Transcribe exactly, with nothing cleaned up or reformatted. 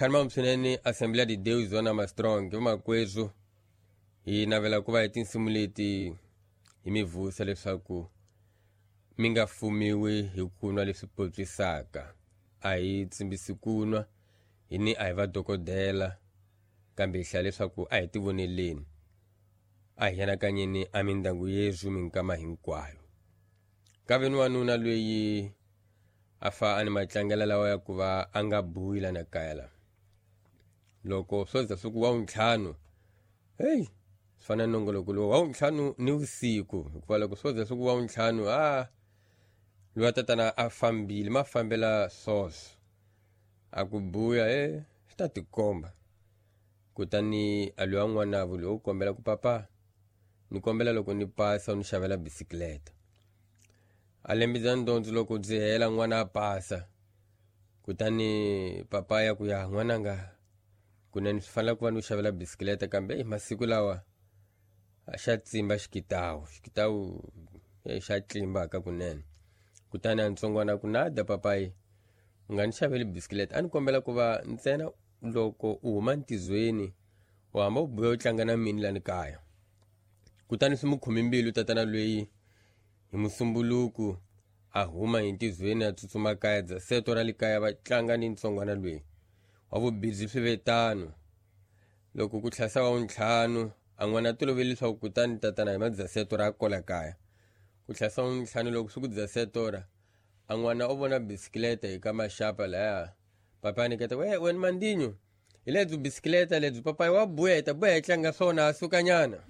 Khanima swinene Assembly de Deus Zona Mastrong vamakwezu hi navela ku va hi tinsimu leti hi mi vusa leswaku mi nga fumiwi hi ku nwa leswi potswisaka. A hi tsimbisi ku nwa hi ni a hi vadokodela kambe hi hlaya leswaku a hi tivoneleni a hi anakanyeni a mindyangu yesu minkama hinkwayo. Ka ve ni wanuna loyi a fa a ni matlangela lawa ya ku va a nga buyi lana kaya la loko swo za swi ku wa wuntlhanu heyi swi fana na nongoloko lowu wa wuntlhanu ni vusiku hikuva loko swo za swi ku wa wuntlhanu a loyi tatana a fambile ma fambela swoswo a ku buya e swi ta tikomba. Kutani a loyi wa n'wanavo loyi u kombela ku papa ni kombela loko ni pasa u ni xavela bisikleta. A lembisa ndondzo loko byi hela n'wana a pasa kutani papa ya ku ya n'wananga kunene swi fanele ku va ni u xavela bisikleta kambe hi masiku lawa a xa tsimba xikitawu xikitawu xa tlimbaka kunene. Kutani a ntsongwana ku nada papayi u nga ni xaveli bisikleta a ni kombela ku va ntsena loko u huma ntizweni u hamba u buya u tlanga na mini lani kaya. Kutani swi mu khome mbilu tatana loyi hi musumbuluku a huma hi ntizweni a tsutsuma kaya dza seto ra le kaya va tlanga ni ntsongwana loyi wa vubhizi. Swi ve tano loko ku tlhasa wa wuntlhanu a n'wana a tolovele leswaku kutani tatana hi madzaseto ra kola kaya ku tlhasa wuntlhanu loko swi ku dzaseto ra a n'wana u vona bisikleta hi ka maxapa laya papa a niketa we wena mandinyo hi lebyi bisikleta lebyi papayi wa buya hi ta buya hi tlanga swona a sukanyana.